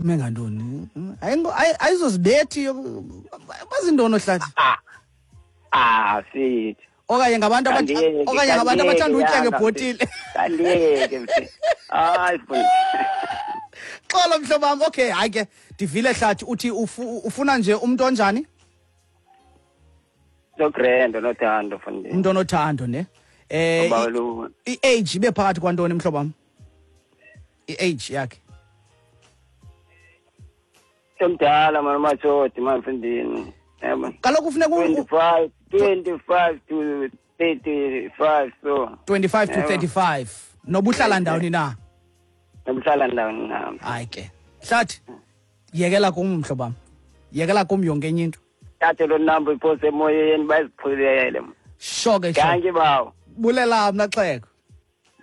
Ume ngantoni? Ayizozibethi bazintoni ohlathi? Ah, ah, fit. Okanye ngabantu Kandiyeke, okanye ngabantu kandiyeke, abathanda utya yanga, ngebhotile. Kandiyeke, mfethu. Hayi, mfundisi. Xolo mhlobo wam. Okay, hayi ke ndivile hlathi uthi ufuna nje umntu onjani? No-grand, onothando, mfundisi. Umntu onothando ne? Ubawela I-age ibe phakathi kwantoni mhlobo wam? I-age yakhe. Omdala mani umatshoti mani mfundini. Yabo. Kaloku funeka 25 to 35 so. 25 to Yebo. 35. Noba uhlala ndawoni na? Nobuhlala ndawoni na. Hayi ke. Hlathi, yekela kum mhlobo wam. Yekela kum yonke enye into. Thathe loo number iphose emoyeni baziqhubele. Sho ke sho. Dankie bawo. Bulela mna xhego.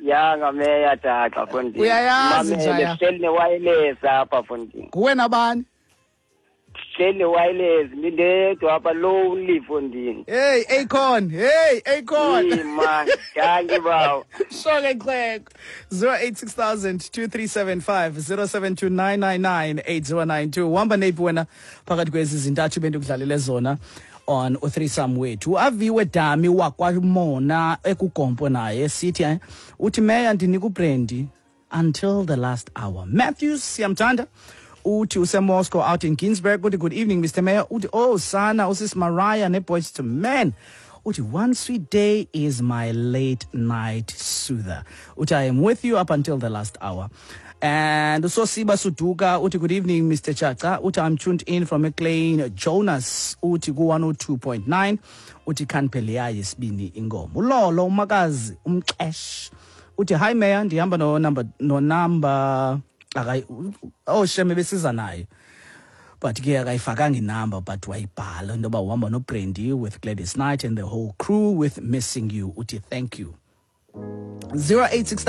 Yanga meya tata mfundini. Uyayazi Mamele, njaya. Sihleli ne-wireless apha mfundini. Nguwe nabani? Sihleli ne-wireless ndindedwa apha lonely mfundini. Hey Akon, hey Akon. Hey man, dankie bawo. Sho ke xhego. 086 2375 0729998092. Uhamba neyiphi wena phakathi kwezi zintathu bendikudlalele zona on uthreesome wethu? Aviwe Dami wakwamona ekugompo naye sithi uthi meya ndinika uBrandy until the last hour. Matthews siyamthanda uthi useMoscow out in Ginsburg, uthi good evening Mr. Mayor, uthi oh sana usis Mariah neBoys to Men, uthi one sweet day is my late night soother, uthi I am with you up until the last hour. And uSosiba Suduka uthi good evening Mr. Chacha, uthi I'm tuned in from McLean Jonas, uthi ku 102.9, uthi khanpheleya yesibini ingoma. Ulolo umakazi umxesh uthi hi Mayor, ndihamba no number no number akayi oh shame besiza naye but ke akayifakanga inumber but wayibhala into yoba uhamba noBrandy with Gladys Knight and the whole crew with Missing You, uthi thank you. 086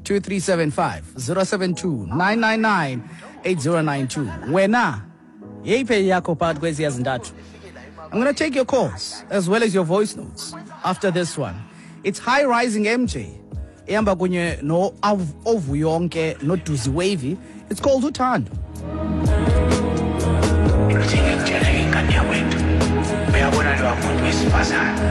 2375 072 999 8092. Wena yeyiphi yakho phakathi kweziya zintathu? I'm going to take your calls as well as your voice notes after this one. It's High Rising MJ ehamba kunye no Ovuyonke noDuzi Wavy. It's called Uthando. Ngithe ngikutshela ingane yakwethu, uyabona lowa muntu wesifazane.